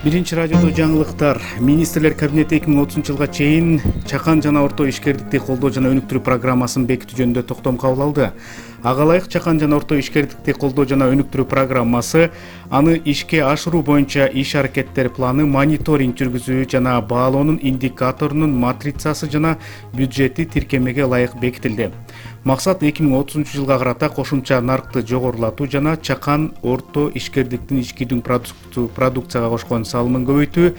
Биринчи радиодо жаңылыктар. Министрлер кабинети 2030 жылга чейин чакан жана орто ишкердикти колдоо жана өнүктүрүү программасын бекитүү жөнүндө токтом кабыл алды. Ага ылайык чакан жана орто ишкердикти колдоо жана өнүктүрүү программасы аны ишке ашыруу боюнча иш аракеттер планы, мониторинг жүргүзүү жана баалоонун индикаторунун матрицасы жана бюджети тиркемеге ылайык бекитилди. Максат 2030 жылга карата кошумча наркты жогорулатуу жана чакан орто ишкердиктин ичкидүү продукцияга кошкон салымын көбөйтүү,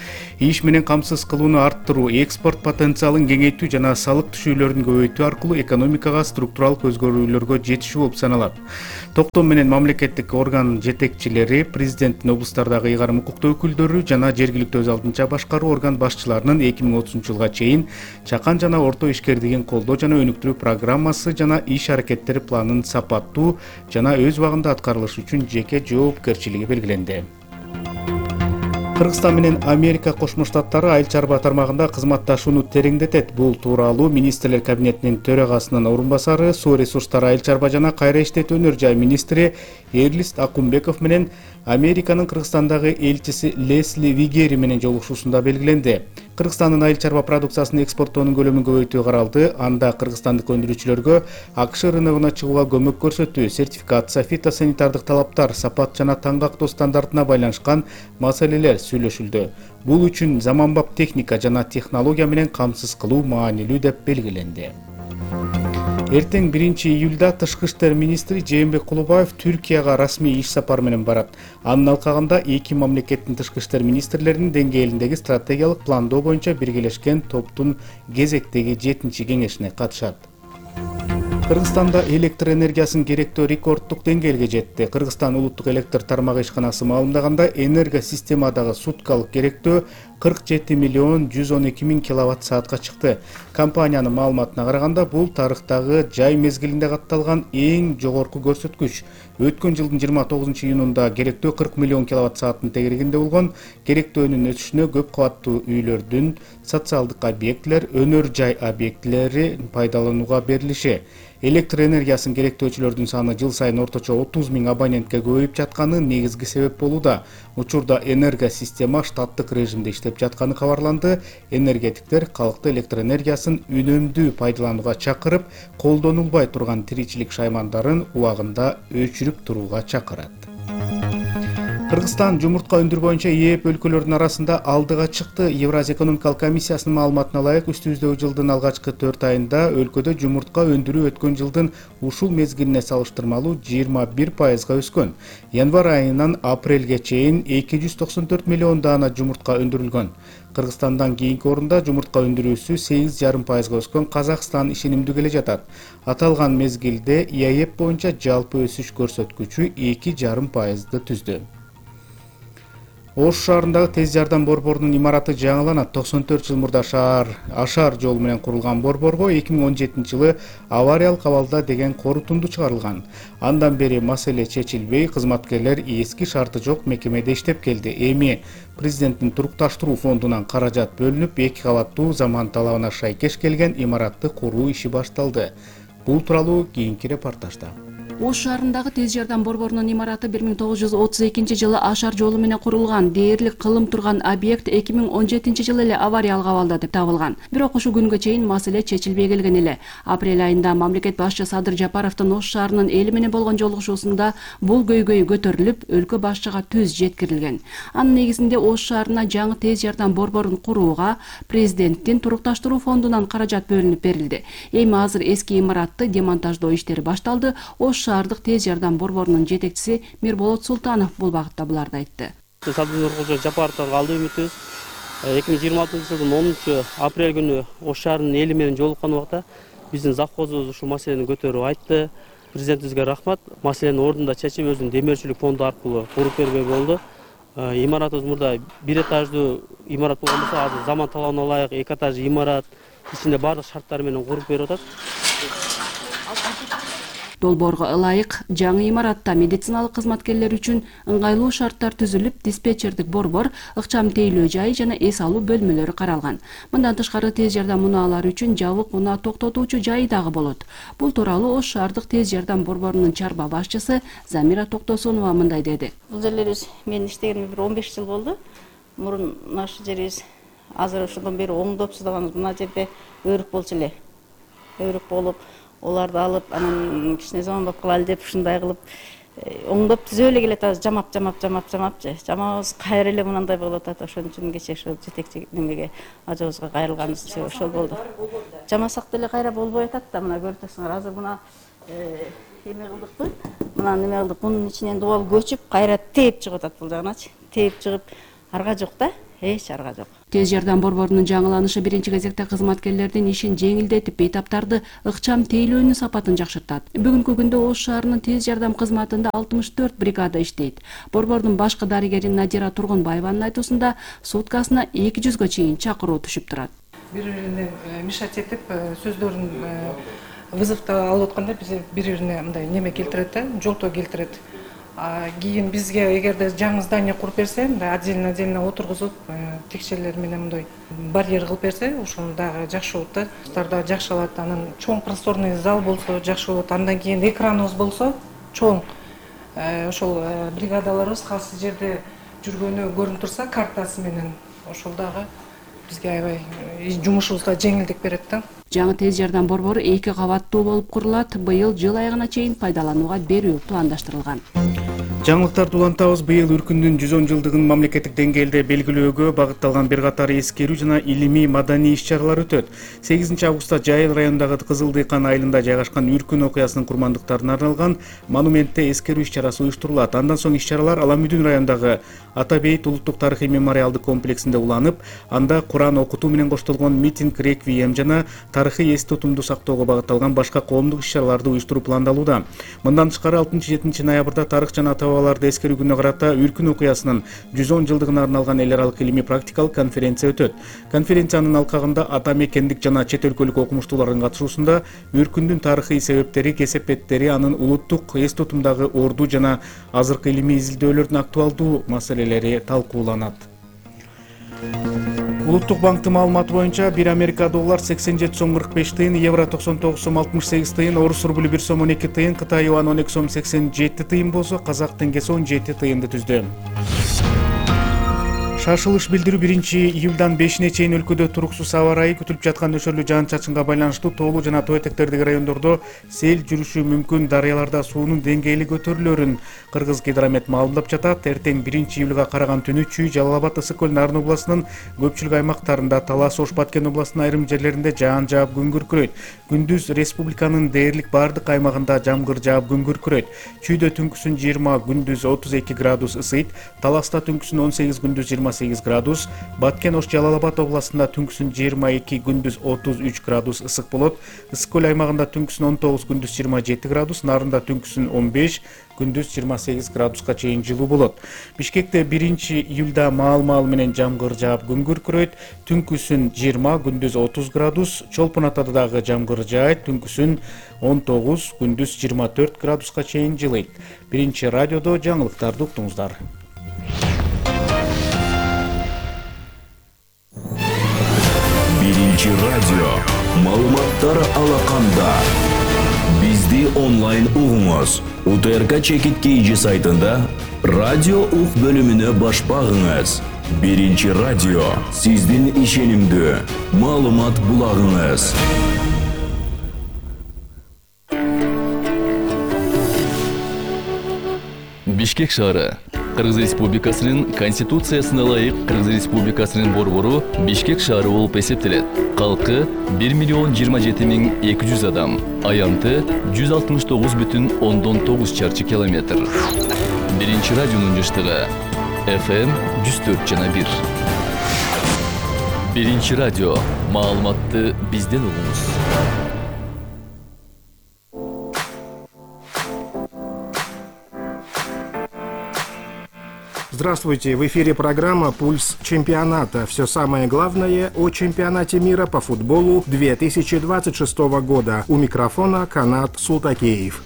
иш менен камсыз кылууну арттыруу, экспорт потенциалын кеңейтүү жана салык түшүүлөрүн көбөйтүү аркылуу экономикага структуралык өзгөрүүлөргө жетишүү болуп саналат. Токтом менен мамлекеттик орган жетекчилери, президенттин облустардагы ыйгарым укуктуу өкүлдөрү жана жергиликтүү өз алдынча башкаруу орган башчыларынын 2030 жылга чейин чакан жана орто ишкердигин колдоо жана өнүктүрүү программасы жана иш аракеттери планын сапаттуу жана өз убагында аткарылышы үчүн жеке жоопкерчилиги белгиленди. Кыргызстан менен Америка Кошмо Штаттары айыл чарба тармагында кызматташууну тереңдетет. Бул тууралуу Министрлер кабинетинин төрагасынын орун басары, суу ресурстары, айыл чарба жана кайра иштетүү өнөр жай министри Эрлист Акунбеков менен Американын Кыргызстандагы элчиси Лесли Вигери менен жолугушуусунда белгиленди. Кыргызстандын айыл чарба продукциясын экспорттоонун көлөмүн көбөйтүү каралды. Анда кыргызстандык өндүрүүчүлөргө АКШ рыногуна чыгууга көмөк көрсөтүү, сертификация, фитосанитардык талаптар, сапат жана таңгактоо стандартына байланышкан маселелер сүйлөшүлдү. Бул үчүн заманбап техника жана технология менен камсыз кылуу маанилүү деп белгиленди. Эртең 1-июлда Тышкы иштер министри Жээнбек Кулубаев Түркияга расмий иш сапары менен барат. Анын алкагында эки мамлекеттин тышкы иштер министрлеринин деңгээлиндеги стратегиялык пландоо боюнча биргелешкен топтун кезектеги 7-чи кеңешине катышат. Кыргызстанда электр энергиясынын керектөө рекордтук деңгээлге жетти. Кыргызстан улуттук электр тармагы ишканасы маалымдаганда, энерго системадагы суткалык керектөө 47 миллион 112 миң киловатт саатка чыкты. Компаниянын маалыматына караганда, бул тарыхтагы жай мезгилинде катталган эң жогорку көрсөткүч. Өткөн жылдын 29-июнунда керектөө 40 миллион киловатт сааттын тегерегинде болгон. Керектөөнүн өсүшүнө көп кабаттуу үйлөрдүн, социалдык объектилер, өнөр жай объектилери пайдаланууга берилиши. Электр энергиясын керектөөчүлөрдүн саны жыл сайын орточо 30 миң абонентке көбөйүп жатканы негизги себеп болууда. Учурда энерго система штаттык режимде иштеп жатканы кабарланды. Энергетиктер калкты электр энергиясын үнөмдүү пайдаланууга чакырып, колдонулбай турган тиричилик шаймандарын убагында өчүрүп турууга чакырат. Кыргызстан жумуртка өндүрүү боюнча ээп өлкөлөрдүн арасында алдыга чыкты. Евразия экономикалык комиссиясынын маалыматына ылайык, үстүбүздөгү жылдын алгачкы 4 айында өлкөдө жумуртка өндүрүү өткөн жылдын ушул мезгилине салыштырмалуу 21% өскөн. Январь айынан апрелге чейин 294 миллион даана жумуртка өндүрүлгөн. Кыргызстандан кийинки орунда жумуртка өндүрүүсү 8,5% өскөн Казакстан ишенимдүү келе жатат. Аталган мезгилде ЭЭП боюнча жалпы өсүш көрсөткүчү 2,5%ды түздү. Ош шаарындагы тез жардам борборунун имараты жаңыланат. 94 жыл мурда Ашар жолу менен курулган борборго 2017 жылы авариялык абалда деген корутунду чыгарылган. Андан бери маселе чечилбей, кызматкерлер эски шарты жок мекемеде иштеп келди. Эми президенттин турукташтыруу фондунан каражат бөлүнүп, 2 кабаттуу заман талабына шайкеш келген имаратты куруу иши башталды. Бул тууралуу кийинки репортажда. Ош шаарындагы тез жардам борборунун имараты 1932 жылы Ашар жолу менен курулган. Дээрлик кылым турган объект 2017 жылы эле авариялык абалда деп табылган. Бирок ушул күнгө чейин маселе чечилбей келген эле. Апрель айында мамлекет башчы Садыр Жапаровдун Ош шаарынын эли менен болгон жолугушуусунда бул көйгөй көтөрүлүп, өлкө башчыга түз жеткирилген. Анын негизинде Ош шаарына жаңы тез жардам борборун курууга президенттин турукташтыруу фондунан каражат бөлүнүп берилди. Эми азыр эски имаратты демонтаждоо иштери башталды. Ош шаардык тез жардам борборунун жетекчиси Мирболот Султанов бул багытта буларды айтты. Садыр Жапаровдон калды үмүтүбүз. 2026 жылдын 10 апрель күнү Ош шаарынын эли менен жолуккан убакта биздин завхозубуз ушул маселени көтөрүп айтты. Президентибизге рахмат. Маселени ордунда чечип, өзүнүн демөөрчүлүк фонду аркылуу куруп бербей болду. Имаратыбыз мурда 1 этаждуу имарат болгон болсо, азыр заман талабына ылайык 2 этаждуу имарат, ичинде баардык шарттары менен куруп берип атат. Долбоорго ылайык жаңы имаратта медициналык кызматкерлер үчүн ыңгайлуу шарттар түзүлүп, диспетчердик борбор, ыкчам тейлөө жайы жана эс алуу бөлмөлөрү каралган. Мындан тышкары тез жардам унаалары үчүн жабык унаа токтотуучу жайы дагы болот. Бул тууралуу Ош шаардык тез жардам борборунун чарба башчысы Замира Токтосунова мындай деди. Бул жерлер менин иштегениме 15 жыл болду. Мурун наш жерибиз азыр ошондон бери оңдоп сыздаганбыз. Мына жерде өрүк болчу эле. Өрүк болуп, оларды алып, анан кичине заманбап кылалы деп ушундай кылып оңдоп түзөп эле келатабыз. Жамап же. Жамабыз кайра эле мындай болуп атат. Ошон үчүн кече ошол жетекчи немеге ажыбызга кайрылганыбыз ошол болду. Жамасак деле кайра болбой атат да, мына көрүп атасыңар. Азыр мына эме кылдыкпы? Мына неме кылдык. Бунун ичинен дубал көчүп, кайра тээп чыгып атат бул жагыначы. Тээп чыгып, арга жок да. Эч арга жок. Тез жардам борборунун жаңыланышы биринчи кезекте кызматкерлердин ишин жеңилдетип, бейтаптарды ыкчам тейлөөнүн сапатын жакшыртат. Бүгүнкү күндө Ош шаарынын тез жардам кызматында 64 бригада иштейт. Борбордун башкы дарыгери Надира Тургунбаеванын айтуусунда суткасына 200гө чейин чакыруу түшүп турат. Бири-бирине мешать этип, сөздөрүн вызовто алып атканда бири-бирине мындай неме келтирет да, жолтоо келтирет. Кийин бизге эгерде жаңы здание куруп берсе, мындай отдельно отургузуп, текчелер менен мындай барьер кылып берсе, ошол дагы жакшы болот да. Дагы жакшы алат. Анан чоң просторный зал болсо жакшы болот. Андан кийин экраныбыз болсо чоң. Ошол бригадаларыбыз кайсы жерде жүргөнү көрүнүп турса картасы менен, ошол дагы бизге аябай жумушубузга жеңилдик берет да. Жаңы тез жардам борбору 2 кабаттуу болуп курулат. Быйыл жыл айыгына чейин пайдаланууга берүү пландаштырылган. Жаңылыктарды улантабыз. Быйыл Үркүндүн 110 жылдыгын мамлекеттик деңгээлде белгилөөгө багытталган бир катар эскерүү жана илимий маданий иш-чаралар өтөт. 8 августта Жайыл районундагы Кызыл Дыйкан айылында жайгашкан Үркүн окуясынын курмандыктарына арналган монументте эскерүү иш-чарасы уюштурулат. Андан соң иш-чаралар Аламүдүн районундагы Ата Бейит улуттук тарыхый мемориалдык комплексинде уланып, анда Куран окутуу менен коштолгон митинг, реквием жана тарыхый эс тутумду сактоого багытталган башка коомдук иш-чараларды уюштуруу пландалууда. Мындан тышкары 6-7 ноябрда тарых жана ата-бабаларды эскерүү күнүнө карата Үркүн окуясынын 110 жылдыгына арналган эл аралык илимий практикалык конференция өтөт. Конференциянын алкагында ата мекендик жана чет өлкөлүк окумуштуулардын катышуусунда Үркүндүн тарыхый себептери, кесепеттери, анын улуттук эс тутумдагы орду жана азыркы илимий изилдөөлөрдүн актуалдуу маселелери талкууланат. Улуттук банктын маалыматы боюнча 1 Америка доллар 87 сом 45 тыйын, евро 99 сом 68 тыйын, орус рубль 1 сом 12 тыйын, Кытай юан 12 сом 87 тыйын болсо, казак теңгеси 17 тыйынды түздү. Шашылыш билдирүү 1-июлдан 5-ине чейин өлкөдө туруксуз аба ырайы күтүлүп жаткан нөшөрлүү жаан-чачынга байланыштуу тоолуу жана тоо этектердеги райондордо сел жүрүшү мүмкүн, дарыяларда суунун деңгээли көтөрүлөрүн Кыргызгидромет маалымдап жатат. Эртең 1-июлга караган түнү Чүй, Жалал Абад, Ысык Көл, Нарын областынын көпчүлүк аймактарында, Талас, Ош, Баткен областынын айрым жерлеринде жаан жаап күн күркүрөйт. Күндүз республиканын дээрлик бардык аймагында жамгыр жаап күн күркүрөйт. Чүйдө түнкүсүн 20, күндүз 32 градус ысыйт. Таласта түнкүсүн 18, күндүз 28 градус. Баткен, Ош, Жалал Абад областында түнкүсүн 22, күндүз 33 градус ысык болот. Ысык Көл аймагында түнкүсүн 19, күндүз 27 градус. Нарында түнкүсүн 15, күндүз 28 градуска чейин жылуу болот. Бишкекте 1-июлда маал-маал менен жамгыр жаап күн күркүрөйт. Түнкүсүн 20, күндүз 30 градус. Чолпон Атада дагы жамгыр жаайт. Түнкүсүн 19, күндүз 24 градуска чейин жылыйт. Биринчи радиодо жаңылыктарды уктуңуздар. Биринчи радио маалыматтар алаканда. Бизди онлайн угуңуз. УТРК Чекит KG сайтында радио ук бөлүмүнө баш багыңыз. Биринчи радио сиздин ишенимдүү маалымат булагыңыз. Бишкек шаары Кыргыз Республикасынын Конституциясына ылайык Кыргыз Республикасынын борбору Бишкек шаары болуп эсептелет. Калкы 1,027,200 адам, аянты 169,9 чарчы километр. Биринчи радионун жыштыгы FM 104,1. Биринчи радио маалыматты бизден угуңуз. Здравствуйте, в эфире программа «Пульс чемпионата». Все самое главное о чемпионате мира по футболу 2026 года. У микрофона Канат Султакеев.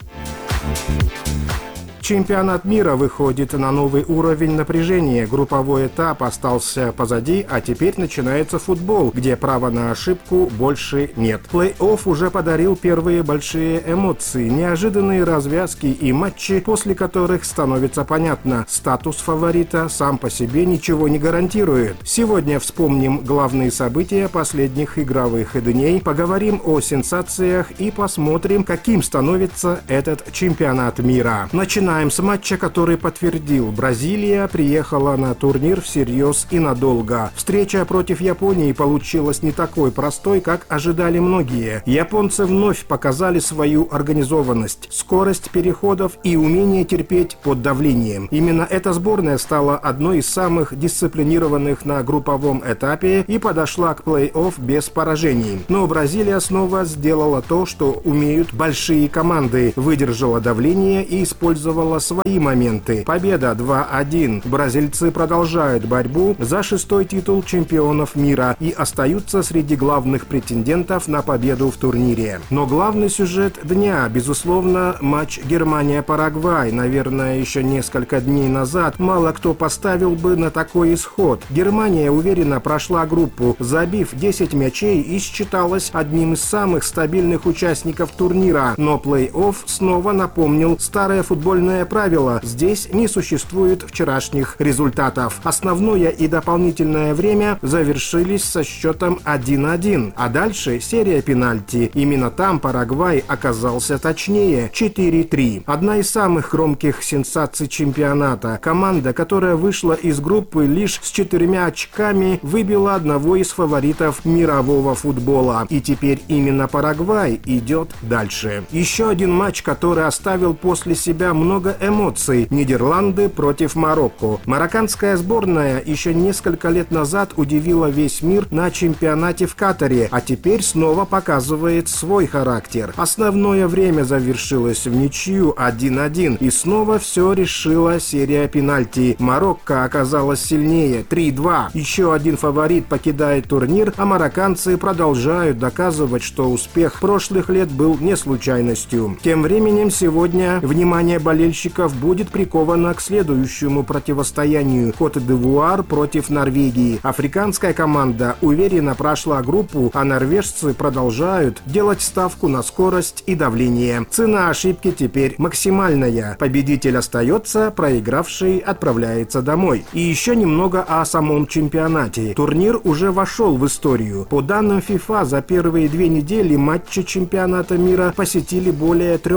Чемпионат мира выходит на новый уровень напряжения. Групповой этап остался позади, а теперь начинается футбол, где права на ошибку больше нет. Плей-офф уже подарил первые большие эмоции, неожиданные развязки и матчи, после которых становится понятно, статус фаворита сам по себе ничего не гарантирует. Сегодня вспомним главные события последних игровых дней, поговорим о сенсациях и посмотрим, каким становится этот чемпионат мира. Начинаем с матча, который подтвердил: Бразилия приехала на турнир всерьез и надолго. Встреча против Японии получилась не такой простой, как ожидали многие. Японцы вновь показали свою организованность, скорость переходов и умение терпеть под давлением. Именно эта сборная стала одной из самых дисциплинированных на групповом этапе и подошла к плей-офф без поражений. Но Бразилия снова сделала то, что умеют большие команды, выдержала давление и использовала свои моменты. Победа 2-1. Бразильцы продолжают борьбу за 6-й титул чемпионов мира и остаются среди главных претендентов на победу в турнире. Но главный сюжет дня, безусловно, матч Германия-Парагвай. Наверное, еще несколько дней назад мало кто поставил бы на такой исход. Германия уверенно прошла группу, забив 10 мячей, и считалась одним из самых стабильных участников турнира. Но плей-офф снова напомнил старое футбольное правило: здесь не существует вчерашних результатов. Основное и дополнительное время завершились со счетом 1-1. А дальше серия пенальти. Именно там Парагвай оказался точнее — 4-3. Одна из самых громких сенсаций чемпионата. Команда, которая вышла из группы лишь с 4 очками, выбила одного из фаворитов мирового футбола. И теперь именно Парагвай идет дальше. Еще один матч, который оставил после себя много эмоций. Нидерланды против Марокко. Марокканская сборная еще несколько лет назад удивила весь мир на чемпионате в Катаре, а теперь снова показывает свой характер. Основное время завершилось в ничью 1-1, и снова все решила серия пенальти. Марокко оказалась сильнее — 3-2. Еще один фаворит покидает турнир, а марокканцы продолжают доказывать, что успех прошлых лет был не случайностью. Тем временем сегодня внимание болельщиков будет приковано к следующему противостоянию — Кот-д'Ивуар против Норвегии. Африканская команда уверенно прошла группу, а норвежцы продолжают делать ставку на скорость и давление. Цена ошибки теперь максимальная. Победитель остается, проигравший отправляется домой. И еще немного о самом чемпионате. Турнир уже вошел в историю. По данным FIFA, за первые 2 недели матчи чемпионата мира посетили более 3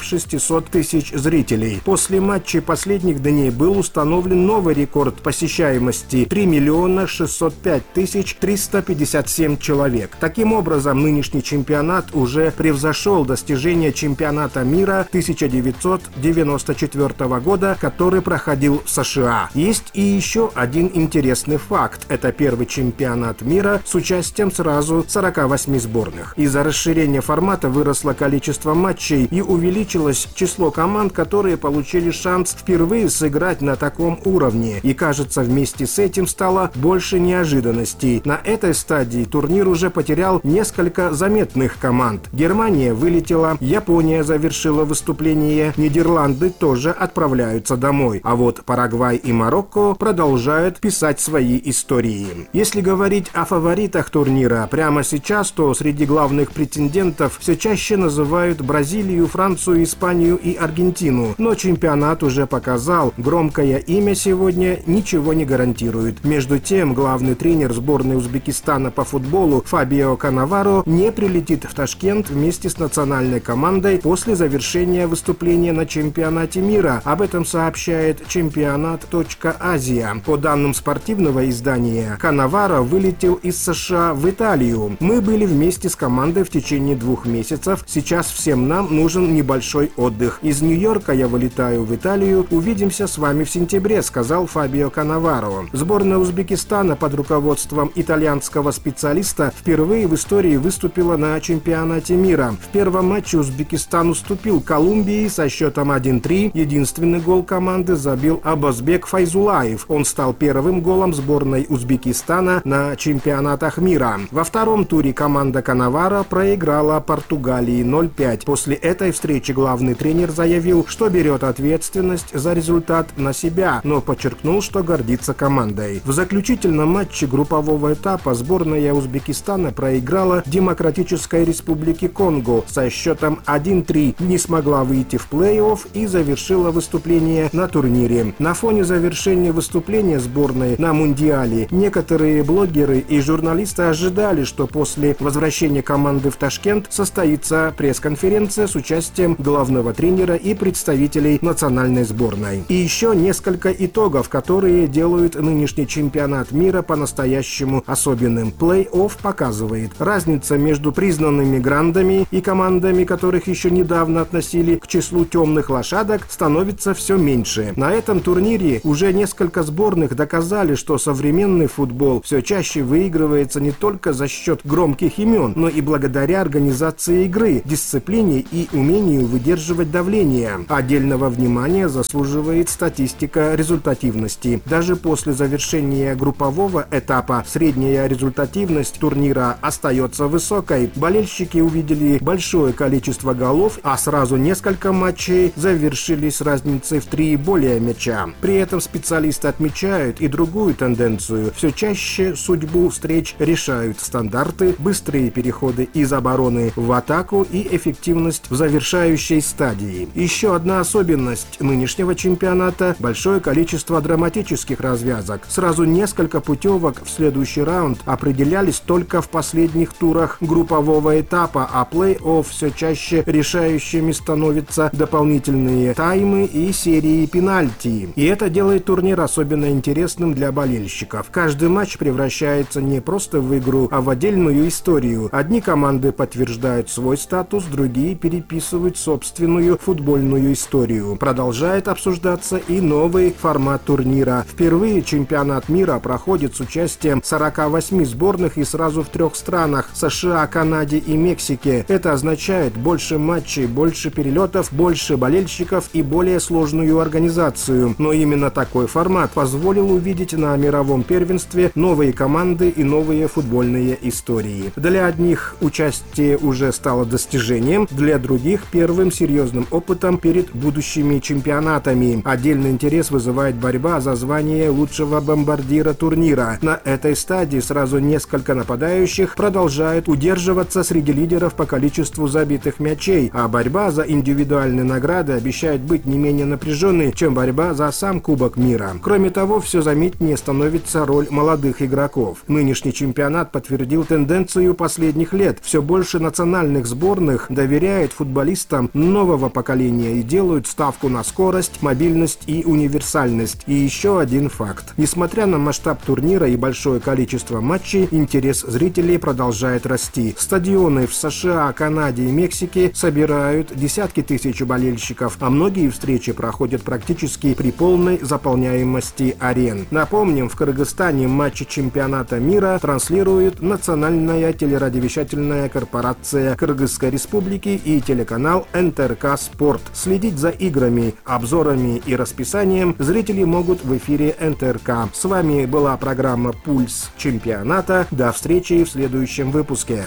600 000 зрителей. После матчей последних дней был установлен новый рекорд посещаемости — 3 605 357 человек. Таким образом, нынешний чемпионат уже превзошел достижения чемпионата мира 1994 года, который проходил в США. Есть и еще один интересный факт. Это первый чемпионат мира с участием сразу 48 сборных. Из-за расширения формата выросло количество матчей и увеличилось число команд, которые получили шанс впервые сыграть на таком уровне. И кажется, вместе с этим стало больше неожиданностей. На этой стадии турнир уже потерял несколько заметных команд. Германия вылетела, Япония завершила выступление, Нидерланды тоже отправляются домой. А вот Парагвай и Марокко продолжают писать свои истории. Если говорить о фаворитах турнира прямо сейчас, то среди главных претендентов все чаще называют Бразилию, Францию, Испанию и Аргентину. Но чемпионат уже показал, громкое имя сегодня ничего не гарантирует. Между тем, главный тренер сборной Узбекистана по футболу Фабио Канаваро не прилетит в Ташкент вместе с национальной командой после завершения выступления на чемпионате мира. Об этом сообщает чемпионат.азия. По данным спортивного издания, Канаваро вылетел из США в Италию. Мы были вместе с командой в течение 2 месяцев. Сейчас всем нам нужен небольшой отдых. Из Нью-Йорка я вылетаю в Италию. Увидимся с вами в сентябре, сказал Фабио Канаваро. Сборная Узбекистана под руководством итальянского специалиста впервые в истории выступила на чемпионате мира. В первом матче Узбекистан уступил Колумбии со счетом 1-3. Единственный гол команды забил Абазбек Файзулаев. Он стал первым голом сборной Узбекистана на чемпионатах мира. Во втором туре команда Канаваро проиграла Португалии 0-5. После этой встречи главный тренер заявил: заявил, что берет ответственность за результат на себя, но подчеркнул, что гордится командой. В заключительном матче группового этапа сборная Узбекистана проиграла Демократической Республике Конго со счетом 1-3, не смогла выйти в плей-офф и завершила выступление на турнире. На фоне завершения выступления сборной на Мундиале некоторые блогеры и журналисты ожидали, что после возвращения команды в Ташкент состоится пресс-конференция с участием главного тренера и представителей национальной сборной. И еще несколько итогов, которые делают нынешний чемпионат мира по-настоящему особенным. Плей-офф показывает, разница между признанными грандами и командами, которых еще недавно относили к числу темных лошадок, становится все меньше. На этом турнире уже несколько сборных доказали, что современный футбол все чаще выигрывается не только за счет громких имен, но и благодаря организации игры, дисциплине и умению выдерживать давление. Отдельного внимания заслуживает статистика результативности. Даже после завершения группового этапа средняя результативность турнира остается высокой. Болельщики увидели большое количество голов, а сразу несколько матчей завершились разницей в 3 и более мяча. При этом специалисты отмечают и другую тенденцию. Все чаще судьбу встреч решают стандарты, быстрые переходы из обороны в атаку и эффективность в завершающей стадии. Еще одна особенность нынешнего чемпионата – большое количество драматических развязок. Сразу несколько путевок в следующий раунд определялись только в последних турах группового этапа, а плей-офф все чаще решающими становятся дополнительные таймы и серии пенальти. И это делает турнир особенно интересным для болельщиков. Каждый матч превращается не просто в игру, а в отдельную историю. Одни команды подтверждают свой статус, другие переписывают собственную футбольную историю. Продолжает обсуждаться и новый формат турнира. Впервые чемпионат мира проходит с участием 48 сборных и сразу в 3 странах – США, Канаде и Мексике. Это означает больше матчей, больше перелетов, больше болельщиков и более сложную организацию. Но именно такой формат позволил увидеть на мировом первенстве новые команды и новые футбольные истории. Для одних участие уже стало достижением, для других – первым серьезным опытом перед будущими чемпионатами. Отдельный интерес вызывает борьба за звание лучшего бомбардира турнира. На этой стадии сразу несколько нападающих продолжают удерживаться среди лидеров по количеству забитых мячей, а борьба за индивидуальные награды обещает быть не менее напряженной, чем борьба за сам Кубок мира. Кроме того, все заметнее становится роль молодых игроков. Нынешний чемпионат подтвердил тенденцию последних лет. Все больше национальных сборных доверяют футболистам нового поколения и делают ставку на скорость, мобильность и универсальность. И еще один факт. Несмотря на масштаб турнира и большое количество матчей, интерес зрителей продолжает расти. Стадионы в США, Канаде и Мексике собирают десятки тысяч болельщиков, а многие встречи проходят практически при полной заполняемости арен. Напомним, в Кыргызстане матчи чемпионата мира транслирует национальная телерадиовещательная корпорация Кыргызской Республики и телеканал НТРК Спорт. Следить за играми, обзорами и расписанием зрители могут в эфире НТРК. С вами была программа «Пульс чемпионата». До встречи в следующем выпуске.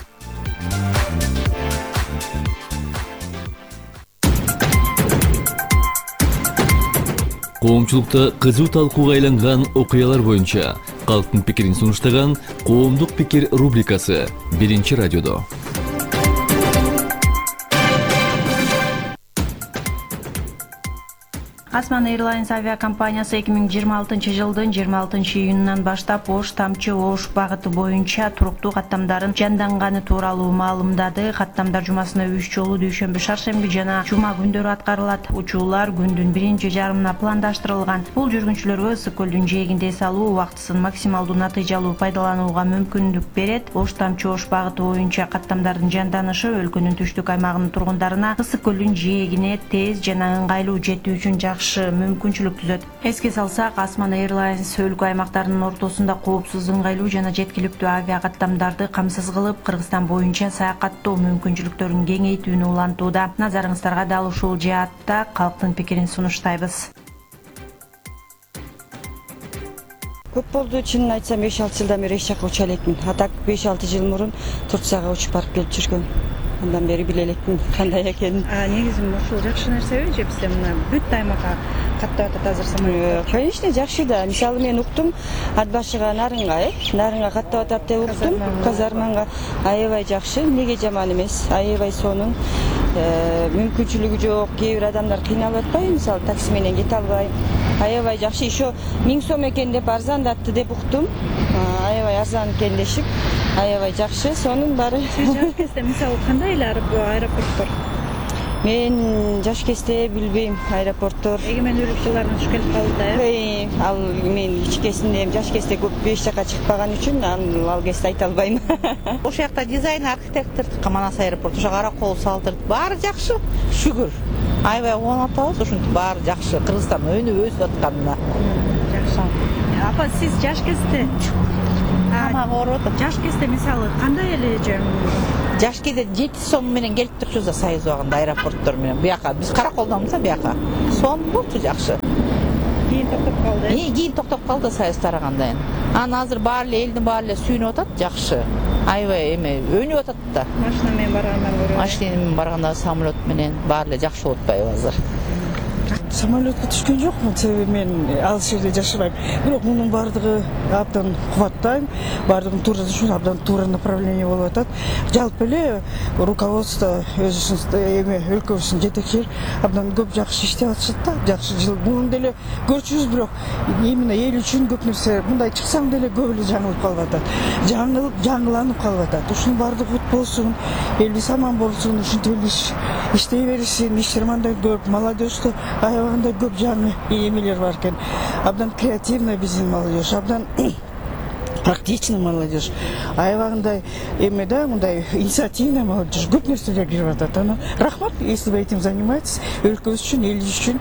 Коомчулукта кызуу талкууга айланган окуялар боюнча калктын пикирин сунуштаган «Коомдук пикир» рубрикасы 1-радиодо. Osman Airlines авиакомпаниясы 2026 жылдын 26-июнунан баштап Ош-Тамчы-Ош багыты боюнча туруктуу каттамдарын жанданганы тууралуу маалымдады. Каттамдар жумасына 3 жолу дүйшөмбү, шаршемби жана жума күндөрү аткарылат. Учуулар күндүн 1-жарымына пландаштырылган. Бул жүргүнчүлөргө ысык көлдүн жээгинде эс алуу убактысын максималдуу натыйжалуу пайдаланууга мүмкүндүк берет. Ош-Тамчы-Ош багыты боюнча каттамдардын жанданышы өлкөнүн түштүк аймагынын тургундарына ысык көлдүн жээгине тез жана ыңгайлуу жетүү үчүн жакшы мүмкүнчүлүк түзөт. Эске салсак, Osman Airlines өлкө аймактарынын ортосунда коопсуз, ыңгайлуу жана жеткиликтүү авиа каттамдарды камсыз кылып, Кыргызстан боюнча саякаттоо мүмкүнчүлүктөрүн кеңейтүүнү улантууда. Назарыңыздарга дал ушул жаатта калктын пикирин сунуштайбыз. Көп болду, чынын айтсам 5-6 жылдан бери эч жака уча элекмин. А так 5-6 жыл мурун Турцияга учуп барып келип жүргөм. Андан бери биле электим кандай экенин. Негизи ушул жакшы нерсеби же бизде мына бүт аймакка каттап атат азыр самолет? Конечно, жакшы да. Мисалы мен уктум, ат башыга нарынга каттап атат деп уктум. Казарманга аябай жакшы, эмнеге жаман эмес. Аябай сонун мүмкүнчүлүгү жок. Кээ бир адамдар кыйналып атпайбы? Мисалы такси менен кете албай. Аябай жакшы. Еще 1000 сом экен деп арзандатты деп уктум. Аябай арзан экен дешип. Аябай жакшы. Сонун баары. Сиз жаш кезде мисалы кандай эле аэропорттор? Мен жаш кезде билбейм аэропорттор. Эгемендүүлүк жылдарына туш келип калды Ал мен кичкесинде жаш кезде көп эч жака чыкпаган үчүн ал кезде айта албайм. Ошол жакта дизайн архитектор Каманас аэропорту, ошо Каракол салдырды. Баары жакшы, шүгүр. Аябай кубанып атабыз, ушинтип баары жакшы. Кыргызстан өсүп атканына. Жакшы. Апа, сиз жаш кезде Тамак ооруп атат. Жаш кезде мисалы кандай эле Жаш кезде 7 сом менен келип турчубуз да Союз убагында аэропорттор менен. Буяка биз Караколдонбуз да буяка. Сон болчу жакшы. Кийин токтоп калды. Кийин токтоп калды Союз тарагандан кийин. Анан азыр баары эле элдин баары эле сүйүнүп атат, жакшы. Аябай өнүп атат да. Машина менен баргандан көрө. Машина менен барганда самолет менен баары эле жакшы болуп атпайбы азыр? Самолетке түшкөн жокмун, себеби мен ал жерде жашабайм. Бирок мунун баардыгы абдан кубаттайм. Баардыгын туура түшүнүп, абдан туура направление болуп атат. Жалпы эле руководство өзүбүздүн өлкөбүздүн жетекчилери абдан көп жакшы иштеп атышат да. Жакшы жыл муну деле көрчүбүз, бирок именно эл үчүн көп нерсе мындай чыксаң деле көп эле жаңылып калып атат. Жаңыланып калып атат. Ушунун баардыгы бут болсун, элибиз аман болсун, ушинтип иштей беришсин, иштер мындай көп, молодежьту аябагандай көп жаңы эмелер бар экен. Абдан креативный биздин молодежь, абдан практичный молодежь. Аябагандай эме да, мындай инициативный молодежь, көп нерселер кирип атат. Анан рахмат, если вы этим занимаетесь, өлкөбүз үчүн, элибиз үчүн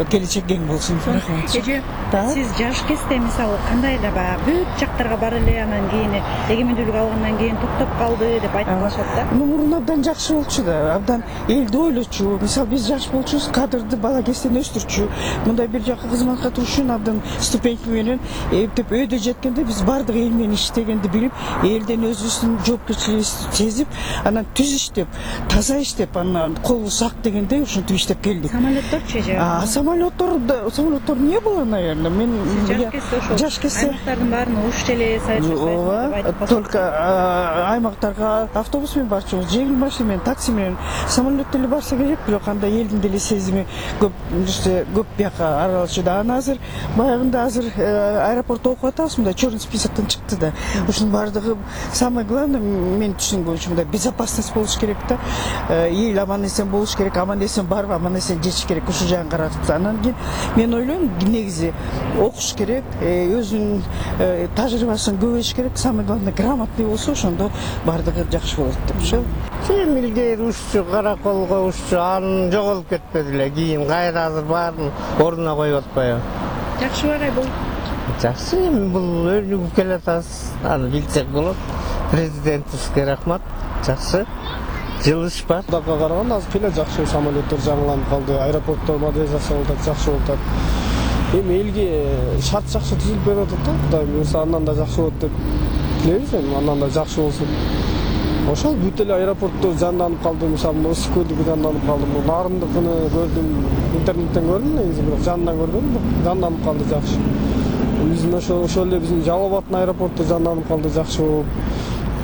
келечек кең болсун. Рахмат. Сиз жаш кезде мисалы кандай эле баягы бүт жактарга бар эле, анан кийин эгемендүүлүк алгандан кийин токтоп калды деп айтып калышат да. Мурун абдан жакшы болчу да, абдан элди ойлочу. Мисалы биз жаш болчубуз, кадрды бала кезден өстүрчү. Мындай бир жака кызматка туруш үчүн абдан ступеньки менен эптеп өйдө жеткенде биз баардык эл менен иштегенди билип, элден өзүбүздүн жоопкерчилигибизди сезип, анан түз иштеп, таза иштеп, анан колубуз ак дегенде ушинтип иштеп келдик. Самолетторчу же? Самолеттор не было, наверное. Мен жаш кезде аймактардын баарына уч эле саят жасайт. Только аймактарга автобус менен барчубуз, жеңил машина менен, такси менен. Самолет деле барса керек, бирок андай элдин деле сезими көп бияка аралашууда. Анан азыр баягында аэропортто окуп атабыз, мындай черный списоктон чыкты да. Ушунун баардыгы самое главное мен түшүнгөн боюнча мындай безопасность болуш керек да. Эл аман эсен болуш керек, аман эсен барып, аман эсен жетиш керек. Ушул жагын карап анан кийин мен ойлойм, негизи окуш керек, өзүнүн тажрыйбасын көбөйтүш керек, самое главное грамотный болсо, ошондо баардыгы жакшы болот деп ошо. Сен илгери уччу, Караколго уччу, анын жоголуп кетпеди эле. Кийин кайра азыр баарын ордуна коюп атпайбы? Жакшы багай бул. Жакшы, эми бул өнүгүп келатабыз. Аны билсек болот. Президентибизге рахмат. Жакшы. Жылыш бар. Дагы караганда азыр эле жакшы самолеттер жаңыланып калды. Аэропорттор модернизация болуп атат, жакшы болуп атат. Эми элге шарт жакшы түзүлүп берип атат да. Кудай буюрса андан да жакшы болот деп тилейбиз, эми андан да жакшы болсун. Ошол бүт эле аэропорттор жанданып калды. Мисалы, Новосибирсктики жанданып калды. Нарындыкыны көрдүм, интернеттен көрдүм, негизи бирок жандан көрбөдүм. Жанданып калды жакшы. Биздин ошол эле биздин Жалал Абадтын аэропорту жанданып калды жакшы болуп.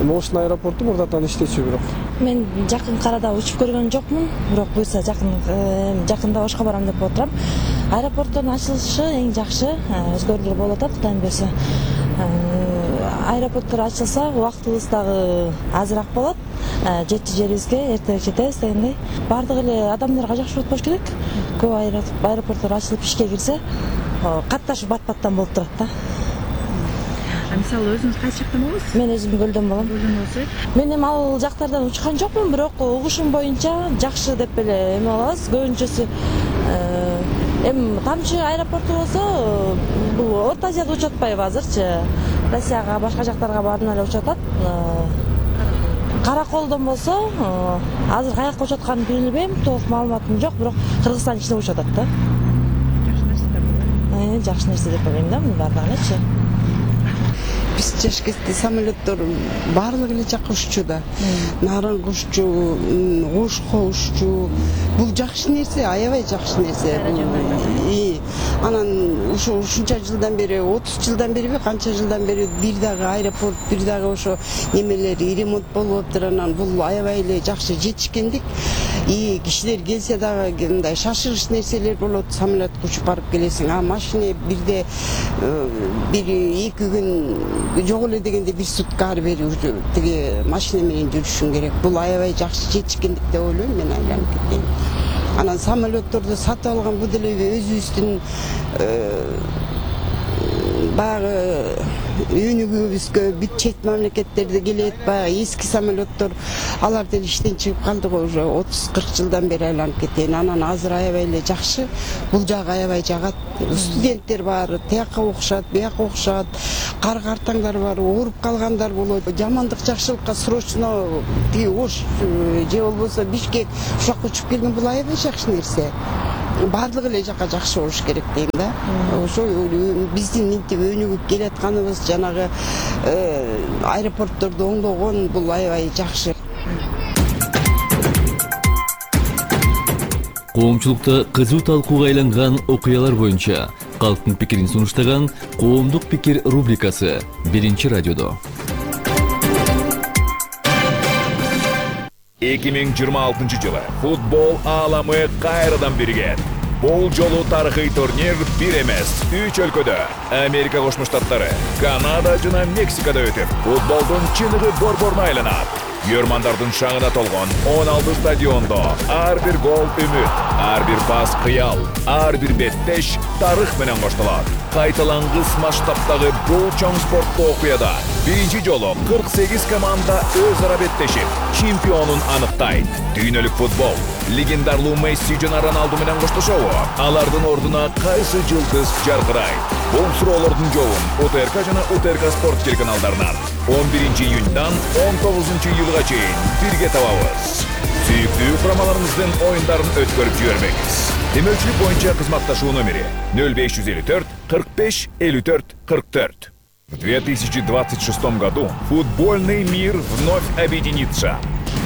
Эми Ошун аэропорту мурдатан иштечү бирок. Мен жакын арада учуп көргөн жокмун, бирок буюрса жакында Ошко барам деп отурам. Аэропорттун ачылышы эң жакшы, өзгөрүүлөр болуп атат, Кудайым буюрса. Аэропорттор ачылса, убактыбыз дагы азыраак болот. Жетчү жерибизге эртерээк жетебиз дегендей. Баардык эле адамдарга жакшы болуп болуш керек. Көп аэропорттор ачылып ишке кирсе, катташып бат-баттан болуп турат да. Мисалы өзүңүз кайсы жактан болосуз? Мен өзүм Көлдөн болом. Мен эми ал жактардан учкан жокмун, бирок угушум боюнча жакшы деп эле эме алабыз. Көбүнчөсү эми тамчы аэропорту болсо, бул Орто Азияда учуп атпайбы азырчы? Россияга, башка жактарга баарына эле учуп атат. Караколдон болсо, азыр каяка учуп атканын билбейм, толук маалыматым жок, бирок Кыргызстан ичинде учуп атат да. Жакшы нерсе деп ойлойм. Жакшы нерсе деп ойлойм да, мунун баардыгы элечи. биз жаш кезде самолеттор баардыгы эле жакка уччу да. Нарынга уччу, Ошко уччу. Бул жакшы нерсе, аябай жакшы нерсе. Анан ушунча жылдан бери, 30 жылдан бериби, канча жылдан бери бир дагы аэропорт, бир дагы ошо немелери ремонт болуп аптыр. Анан бул аябай эле жакшы жетишкендик. Кишилер келсе дагы мындай шашырыш нерселер болот, самолетке учуп барып келесиң. А машина бирде бир 2 күн жок эле дегенде бир сутка ары бери тиги машина менен жүрүшүң керек. Бул аябай жакшы жетишкендик деп ойлойм мен, айланып кеткен. Анан самолетторду сатып алган бул деле өзүбүздүн баягы өнүгүүбүзгө бүт чет мамлекеттерде келет, баягы эски самолеттор, алар деле иштен чыгып калды го, уже 30-40 жылдан бери айланып кеткен. Анан азыр аябай эле жакшы, бул жагы аябай жагат. Студенттер бар, тияка окушат, бияка окушат, картаңдар бар, ооруп калгандар болот. Жамандык жакшылыкка срочно тиги Ош же болбосо Бишкек ушакка учуп келген бул аябай жакшы нерсе. Баардыгы эле жакка жакшы болуш керек дейм да. Ошо биздин минтип өнүгүп келатканыбыз, жанагы аэропортторду оңдогон бул аябай жакшы. Коомчулукта кызуу талкууга айланган окуялар боюнча калктын пикирин сунуштаган Коомдук пикир рубрикасы Биринчи радиодо. 2026 жылы футбол ааламы кайрадан биригет. Бул жолу тарыхый турнир бир эмес, 3 өлкөдө, Америка Кошмо Штаттары, Канада жана Мексикада өтүп, футболдун чыныгы борборуна айланат. Йөрмандардын шаңына толгон 16 стадиондо ар бир гол үмүт, ар бир пас кыял, ар бир беттеш тарых менен коштолот. Кайталангыс масштабтагы бул чоң спорттуу окуяда биринчи жолу 48 команда өз ара беттешип, чемпионун аныктайт. Дүйнөлүк футбол легендарлуу Месси жана Роналду менен коштошобу? Алардын ордуна кайсы жылдыз жаркырайт? Бул суроолордун жообун УТРК жана УТРК спорт телеканалдарынан 11 июньдан 19 июлга чейин бирге табабыз. Сүйүктүү курамаларыбыздын оюндарын өткөрүп жибербеңиз. Демөчүлүк боюнча кызматташуу номери 0554 45 54 44. В 2026 году футбольный мир вновь объединится.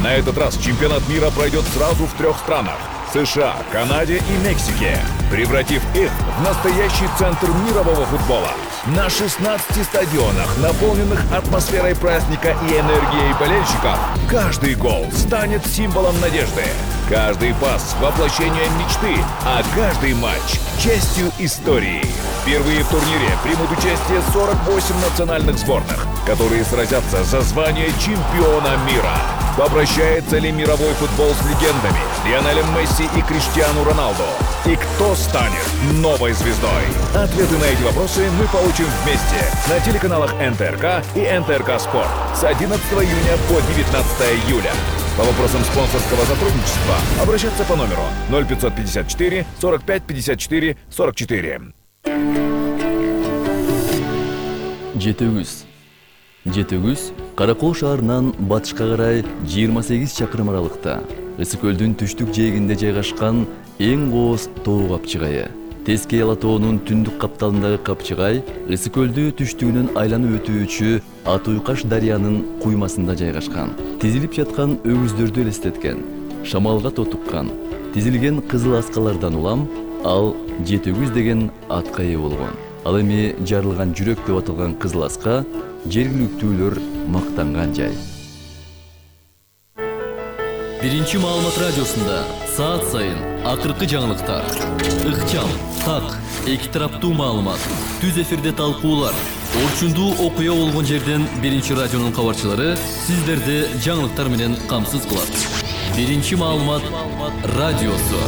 На этот раз чемпионат мира пройдет сразу в 3 странах – США, Канаде и Мексике, превратив их в настоящий центр мирового футбола. На 16 стадионах, наполненных атмосферой праздника и энергией болельщиков, каждый гол станет символом надежды. Каждый пас – воплощение мечты, а каждый матч – частью истории. Впервые в турнире примут участие 48 национальных сборных, которые сразятся за звание чемпиона мира. Попрощается ли мировой футбол с легендами Лионелем Месси и Криштиану Роналду? И кто станет новой звездой? Ответы на эти вопросы мы получим вместе на телеканалах НТРК и НТРК Спорт с 11 июня по 19 июля. По вопросам спонсорского сотрудничества обращаться по номеру 0554 45 54 44. Жетөгүз Каракол шаарынан батышка карай 28 чакырым аралыкта, Ысык көлдүн түштүк жээгинде жайгашкан эң кооз тоо капчыгайы. Тескей Ала тоонун түндүк капталындагы капчыгай Ысык көлдү түштүгүнөн айланып өтүүчү Атуйкаш дарыянын куймасында жайгашкан. Тизилип жаткан өгүздөрдү элестеткен, шамалга тотуккан, тизилген кызыл аскалардан улам ал Жетөгүз деген атка ээ болгон. Ал эми жарылган жүрөк деп аталган кызыл аска жергиликтүүлөр мактанган жай. Биринчи маалымат радиосунда саат сайын акыркы жаңылыктар, ыкчам, так, эки тараптуу маалымат, түз эфирде талкуулар, орчундуу окуя болгон жерден Биринчи радионун кабарчылары сиздерди жаңылыктар менен камсыз кылат. Биринчи маалымат радиосу.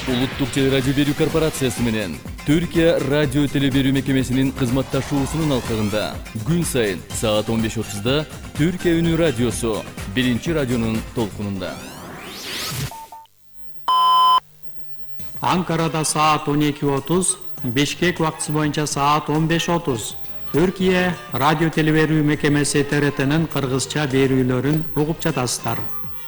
Улуттук телерадио берүү корпорациясы менен Түркия радио телеберүү мекемесинин кызматташуусунун алкагында күн сайын саат 15:30да Түркия үнү радиосу Биринчи радионун толкунунда. Анкарада саат 12:30, Бишкек убактысы боюнча саат 15:30. Түркия радио телеберүү мекемеси ТРТнын кыргызча берүүлөрүн угуп жатасыздар.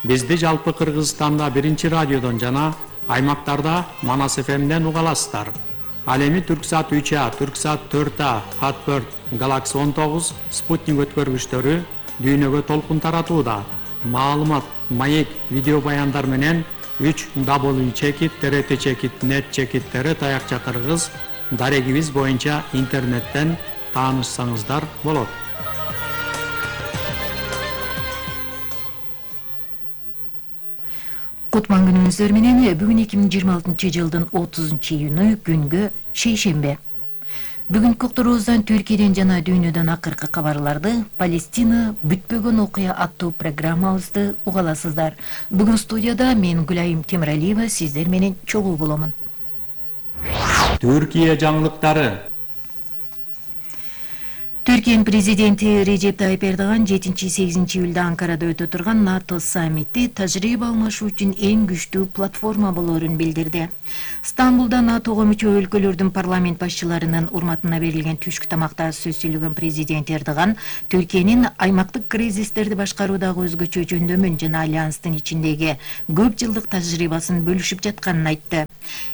Бизди жалпы Кыргызстанда Биринчи радиодон жана аймактарда Манас ФМден уга аласыздар. Ал эми Түрксат 3А, Түрксат 4А, Fatbird, Galaxy 19, спутник өткөргүчтөрү дүйнөгө толкун таратууда. Маалымат, маек, видео баяндар менен 3W чекит, TRT чекит, нет чекиттери таякча кыргыз дарегибиз боюнча интернеттен таанышсаңыздар болот. Кутман күнүңүздөр менен бүгүн 2026 жылдын 30 июнү күнгө шейшембе. Бүгүнкү уктуруубуздан Түркияден жана дүйнөдөн акыркы кабарларды, Палестина бүтпөгөн окуя аттуу программабызды угаласыздар. Бүгүн студияда мен Гүлайым Темиралиева сиздер менен чогуу боломун. Түркия жаңылыктары. Түркиянын президенти Режеп Тайып Эрдоган 7-8 июлда Анкарада өтө турган НАТО саммити тажрыйба алмашуу үчүн эң күчтүү платформа болоорун билдирди. Стамбулда НАТОго мүчө өлкөлөрдүн парламент башчыларынын урматына берилген түшкү тамакта сөз сүйлөгөн президент Эрдоган Түркиянын аймактык кризистерди башкаруудагы өзгөчө жөндөмүн жана альянстын ичиндеги көп жылдык тажрыйбасын бөлүшүп жатканын айтты.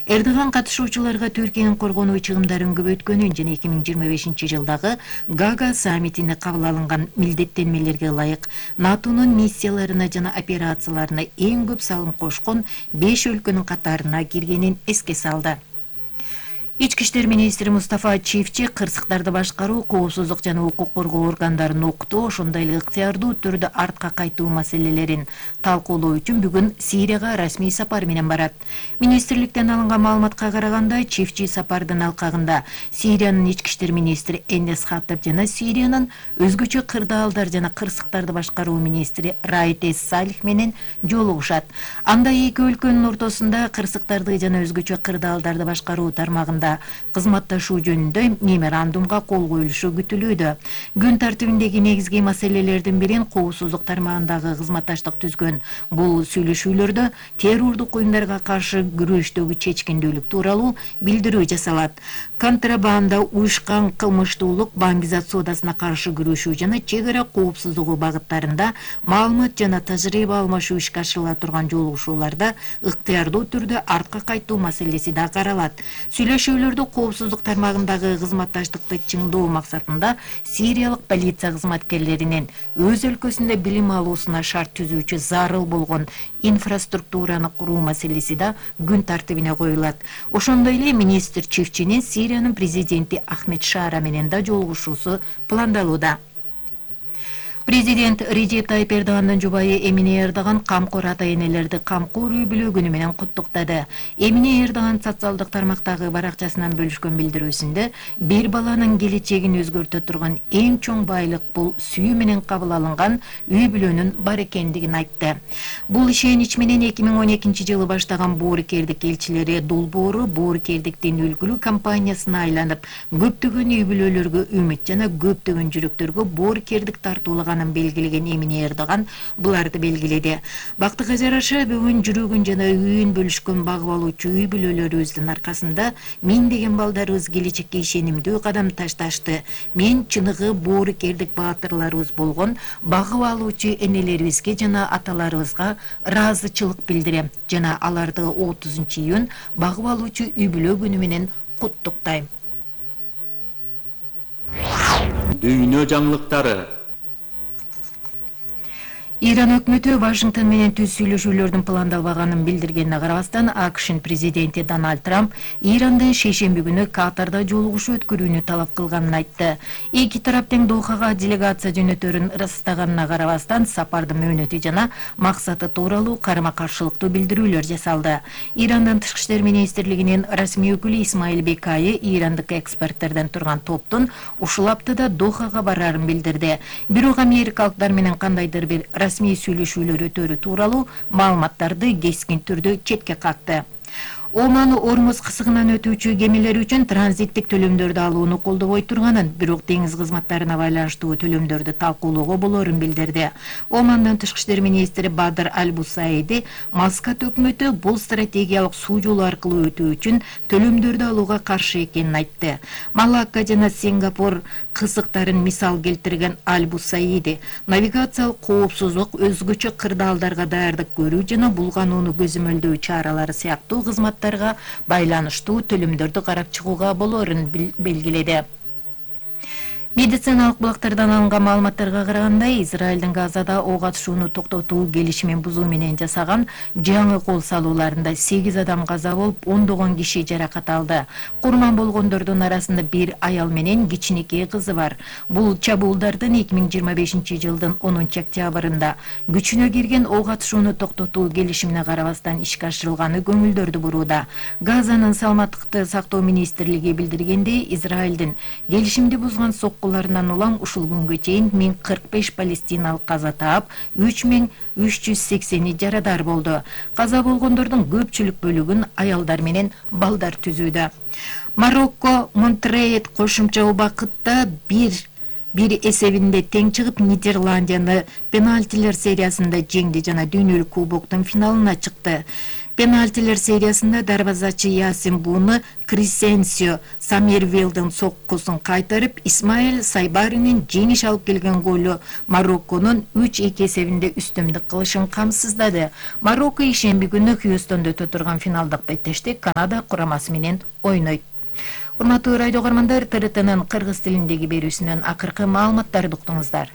Эрдоган катышуучуларга Түркиянын коргонуу чыгымдарын көбөйткөнүн жана 2025 жылдагы Гага саммитине кабыл алынган милдеттенмелерге ылайык НАТОнун миссияларына жана операцияларына эң көп салым кошкон 5 өлкөнүн катарына киргенин эске салды. Ички иштер министри Мустафа Чифчи кырсыктарды башкаруу, коопсуздук жана укук коргоо органдарын окутуу, ошондой эле ыктыярдуу түрдө артка кайтуу маселелерин талкуулоо үчүн бүгүн Сирияга расмий сапар менен барат. Министрликтен алынган маалыматка караганда, Чифчи сапардын алкагында Сириянын ички иштер министри Энес Хаттаб жана Сириянын өзгөчө кырдаалдар жана кырсыктарды башкаруу министри Раид Салих менен жолугушат. Анда эки өлкөнүн ортосунда кырсыктарды жана өзгөчө кырдаалдарды башкаруу тармагында кызматташуу жөнүндө меморандумга кол коюлушу күтүлүүдө. Күн тартибиндеги негизги маселелердин бирин коопсуздук тармагындагы кызматташтык түзгөн. Бул сүйлөшүүлөрдө террордук уюмдарга каршы күрөштөгү чечкиндүүлүк тууралуу билдирүү жасалат. Контрабанда, уюшкан кылмыштуулук, баңгизат соодасына каршы күрөшүү жана чек ара коопсуздугу багыттарында маалымат жана тажрыйба алмашуу ишке ашырыла турган жолугушууларда ыктыярдуу түрдө артка кайтуу маселеси да каралат. Сүйлөшүүлөрдө коопсуздук тармагындагы кызматташтыкты чыңдоо максатында сириялык полиция кызматкерлеринин өз өлкөсүндө билим алуусуна шарт түзүүчү зарыл болгон инфраструктураны куруу маселеси да күн тартибине коюлат. Ошондой эле министр Чифчинин Сириянын президенти Ахмед Шара менен да жолугушуусу пландалууда. Президент Режеп Тайып Эрдогандын жубайы Эмине Эрдоган камкор ата-энелерди камкор үй бүлө күнү менен куттуктады. Эмине Эрдоган социалдык тармактагы баракчасынан бөлүшкөн билдирүүсүндө бир баланын келечегин өзгөртө турган эң чоң байлык бул сүйүү менен кабыл алынган үй бүлөнүн бар экендигин айтты. Бул ишенич менен 2012 жылы баштаган боорукердик элчилери долбоору боорукердиктин үлгүлүү компаниясына айланып, көптөгөн үй бүлөлөргө үмүт жана көптөгөн жүрөктөргө боорукердик тартуулаган белгилеген Эмине Эрдоган буларды белгиледи. Бактыга жараша бүгүн жүрөгүн жана үйүн бөлүшкөн багып алуучу үй бүлөлөрүбүздүн аркасында миңдеген балдарыбыз келечекке ишенимдүү кадам ташташты. Мен чыныгы боорукердик баатырларыбыз болгон багып алуучу энелерибизге жана аталарыбызга ыраазычылык билдирем жана аларды 30 июнь багып алуучу үй бүлө күнү менен куттуктайм. Дүйнө жаңылыктары. Иран өкмөтү Вашингтон менен түз сүйлөшүүлөрдүн пландалбаганын билдиргенине карабастан, АКШнын президенти Дональд Трамп Ирандын шейшемби күнү Катарда жолугушуу өткөрүүнү талап кылганын айтты. Эки тарап тең Дохага делегация жөнөтөрүн ырастаганына карабастан, сапардын мөөнөтү жана максаты тууралуу карама-каршылыктуу билдирүүлөр жасалды. Ирандын тышкы иштер министрлигинин расмий өкүлү Исмаил Бекайы ирандык эксперттерден турган топтун ушул аптада Дохага барарын билдирди. Бирок америкалыктар менен кандайдыр бир расмий сүйлөшүүлөр өтөрү тууралуу маалыматтарды кескин түрдө четке какты. Оман Ормуз кысыгынан өтүүчү кемелер үчүн транзиттик төлөмдөрдү алууну колдобой турганын, бирок деңиз кызматтарына байланыштуу төлөмдөрдү талкуулоого болоорун билдирди. Омандын тышкы иштер министри Бадр Аль-Бусайди Маскат өкмөтү бул стратегиялык суу жолу аркылуу өтүү үчүн төлөмдөрдү алууга каршы экенин айтты. Малакка жана Сингапур кызыктарын мисал келтирген Аль-Бусайди навигациялык коопсуздук, өзгөчө кырдаалдарга даярдык көрүү жана булганууну көзөмөлдөө чаралары сыяктуу кызматтар маалыматтарга байланыштуу төлөмдөрдү карап чыгууга болоорун белгиледи. Медициналык булактардан алынган маалыматтарга караганда, Израилдин Газада ок атышууну токтотуу келишимин бузуу менен жасаган жаңы кол салууларында 8 адам каза болуп, ондогон киши жаракат алды. Курман болгондордун арасында бир аял менен кичинекей кызы бар. Бул чабуулдардын 2025 жылдын 10 октябрында күчүнө кирген ок атышууну токтотуу келишимине карабастан ишке ашырылганы көңүлдөрдү бурууда. Газанын саламаттыкты сактоо министрлиги билдиргендей, Израилдин келишимди бузган соккуларынан улам ушул күнгө чейин 1045 палестиналык каза таап, 3380 жарадар болду. Каза болгондордун көпчүлүк бөлүгүн аялдар менен балдар түзүүдө. Марокко Монтрейт кошумча убакытта бир эсебинде тең чыгып, Нидерландияны пенальтилер сериясында жеңди жана дүйнөлүк кубоктун финалына чыкты. Пенальтилер сериясында дарбазачы Ясин Буны Крисенсио Самирвилдин соккусун кайтарып, Исмаил Сайбаринин жеңиш алып келген голу Марокконун 3-2 эсебинде үстөмдүк кылышын камсыздады. Марокко ишемби күнү Хьюстонда өтө турган финалдык беттеште Канада курамасы менен ойнойт. Урматтуу радио көрөрмандар, ТРТнын кыргыз тилиндеги берүүсүнөн акыркы маалыматтарды уктуңуздар.